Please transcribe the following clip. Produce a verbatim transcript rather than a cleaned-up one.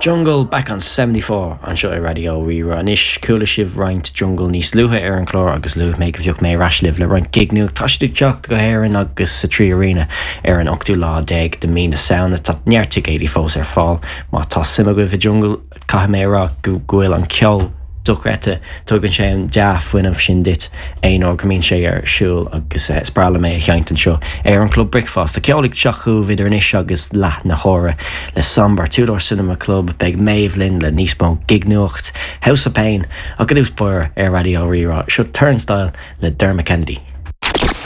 Jungle back on seventy four anseo ar Raidió Rí-Rá. Anois chuala sibh roinnt Jungle níos luaithe ar an chlár agus luaigh mé go bhfeadh mé ar ais libh le roinnt gig nua. Tá siad ag teacht go hÉirinn agus sa Trí Arena ar an ochtú lá déag de mí na Samhna. Tá neart ticéidí fós ar fáil má tá suim agaibh i Jungle caithfidh mé a rá go bhfuil an ceol dochreidte tugann sé an dea-fhuinneamh sin duit aon uair go mbíonn sé ar siúl agus is breá liom é a sheinnt anseo ar an Club Bricfeasta. Ceol ag teacht chugaibh idir anois agus leath na huaire le Somber Two Door Cinema Club beidh Méabh linn le níos mó gig nuacht House of Pain ach i dtús báire ar Raidió Rí-Rá seo Turnstile le Dermot Kennedy.